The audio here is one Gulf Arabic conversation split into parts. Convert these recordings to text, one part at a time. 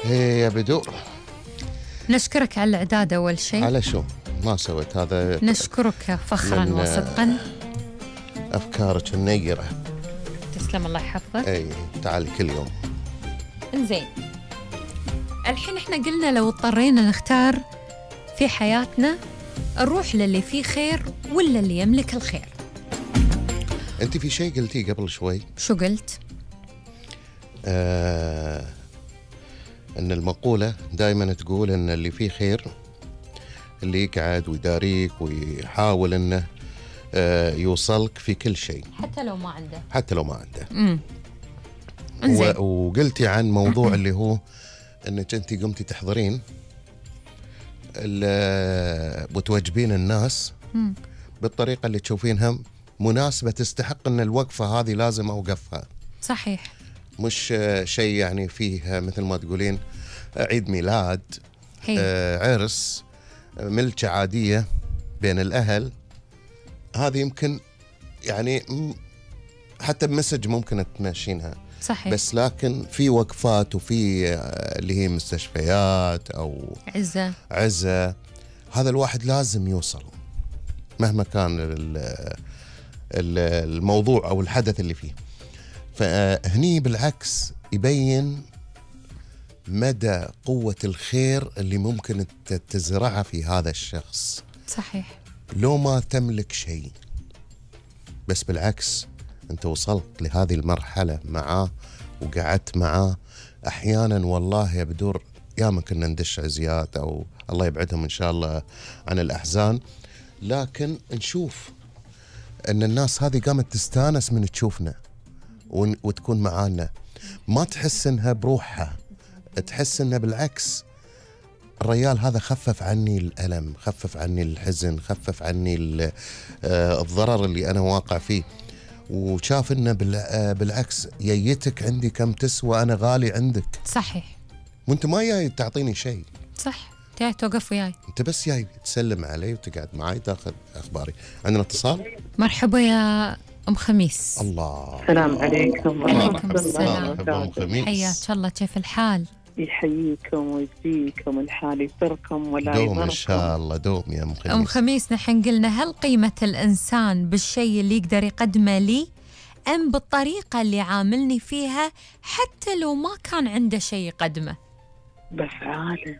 ايه يا بدو. نشكرك على الإعداد أول شيء. على شو ما سويت هذا؟ نشكرك فخرا وصدقا. أفكارك النيرة. تسلم الله يحفظك. اي تعالي كل يوم. انزين، الحين احنا قلنا لو اضطرينا نختار في حياتنا نروح للي فيه خير ولا اللي يملك الخير. انت في شيء قلتيه قبل شوي. شو قلت؟ ان المقولة دائما تقول ان اللي فيه خير اللي يقعد ويداريك ويحاول انه يوصلك في كل شيء حتى لو ما عنده. حتى لو ما عنده. وقلتي عن موضوع اللي هو انك انت قمتي تحضرين وتوجبين الناس بالطريقة اللي تشوفينها مناسبة تستحق ان الوقفة هذه لازم اوقفها. صحيح. مش شيء يعني فيه مثل ما تقولين عيد ميلاد، عرس، ملكة عادية بين الأهل. هذه يمكن يعني حتى بمسج ممكن تمشينها. صحيح. بس لكن في وقفات وفي اللي هي مستشفيات أو عزة هذا الواحد لازم يوصل مهما كان الموضوع أو الحدث اللي فيه. فهني بالعكس يبين مدى قوة الخير اللي ممكن تزرعها في هذا الشخص. صحيح. لو ما تملك شيء بس بالعكس أنت وصلت لهذه المرحلة معاه وقعدت معاه. أحيانا والله يا بدور ياما كنا ندش عزيات أو الله يبعدهم إن شاء الله عن الأحزان، لكن نشوف أن الناس هذه قامت تستانس من تشوفنا وتكون معانا، ما تحس انها بروحها، تحس انها بالعكس الرجال هذا خفف عني الألم، خفف عني الحزن، خفف عني الضرر اللي انا واقع فيه، وشاف انه بالعكس ييتك عندي كم تسوى، انا غالي عندك. صحيح. وانت ما جاي تعطيني شيء. صح، جاي توقف وياي، انت بس جاي تسلم علي وتقعد معي تاخذ اخباري. عندنا اتصال. مرحبا يا أم خميس. الله. السلام عليكم. وعليكم السلام. مرحبا أم خميس. حياك الله، كيف الحال؟ يحييكم ويجزيكم الحال يسركم ولا يضركم. دوم إن شاء الله، دوم يا أم خميس. أم خميس، نحن قلنا هل قيمة الإنسان بالشيء اللي يقدر يقدمه لي أم بالطريقة اللي عاملني فيها حتى لو ما كان عنده شيء يقدمه؟ بأفعاله.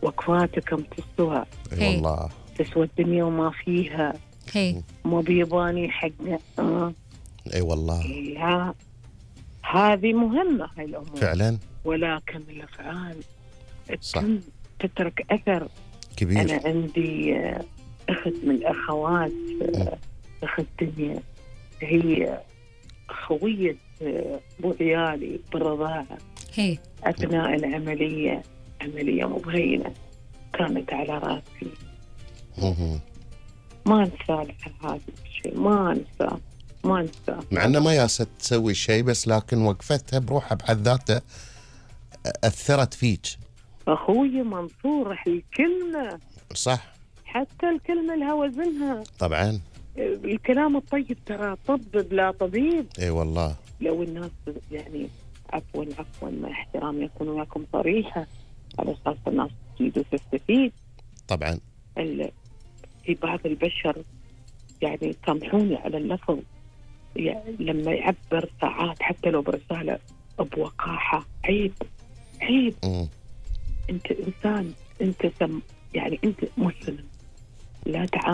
وقفاتكم تسوى. اي والله تسوى الدنيا وما فيها. ما بيباني حقنا. اي والله. لا، هذه مهمة هاي الأمور فعلا، ولكن الأفعال صح تترك أثر كبير. أنا عندي أخت من الأخوات، أخت دنيا، هي خوية أبو عيالي بالرضاعة. أثناء العملية، عملية مبهينة كانت على راسي. ما انسى لها هذا الشيء، ما انسى مع انه ما ياست تسوي شيء، بس لكن وقفتها بروحها بحد ذاتها اثرت فيك. اخوي منصور الكلمه صح، حتى الكلمه لها وزنها. طبعا الكلام الطيب ترى طبب لا طبيب. اي والله. لو الناس يعني عفوا مع احترامي يكون وياكم صريحه على اساس الناس تفيد وتستفيد. طبعا في بعض البشر يعني سامحوني على اللفظ، يعني لما يعبر ساعات حتى لو برسالة بوقاحة، عيب. انت انسان، انت يعني انت مسلم، لا تعامل